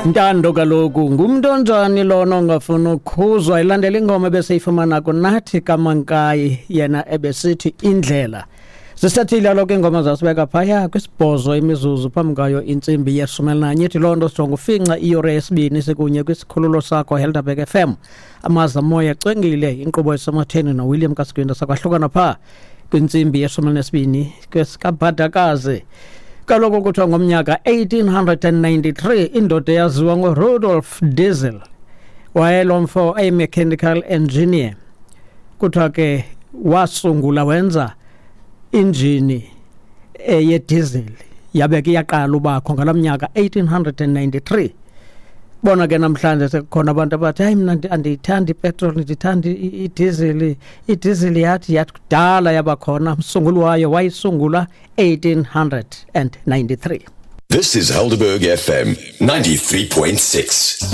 Ntando kaloku ngumntu onjani lona ongafuni ukhuzwa? Ilandela ingoma ebeseyifumana kuNathi kaMankayi, yena ebesithi Indlela. Zisethile kaloku iingoma, zasibeka phaya kwisibhozo imizuzu phambi kwayo intsimbi 11. Ithi loo nto sijonga ufinca iyure yesibini sikunye kwisikhululo sakho Helderberg FM, amaza moya cwengile, inkqubo esematheni noWilliam Kasigwinda. Sakwahlukana phaa kwintsimbi 12 kwesikabhadakazi. Kaloku kuthiwa ngomnyaka 1893 indoda eyaziwa ngoRudolf Diesel, wayelo mfo eyi-mechanical engineer, kuthiwa ke wasungula, wenza injini yediesel, yabe ke iyaqala ubakho ngalo mnyaka 1893. Bona ke namhlanje sekukhona abantu abathi, "Hayi, mna andiyithandi ipetroli, ndithanda idizili." Idizili yathi kudala yabakhona, umsunguli wayo wayisungula 1893. This is Helderberg FM 93.6.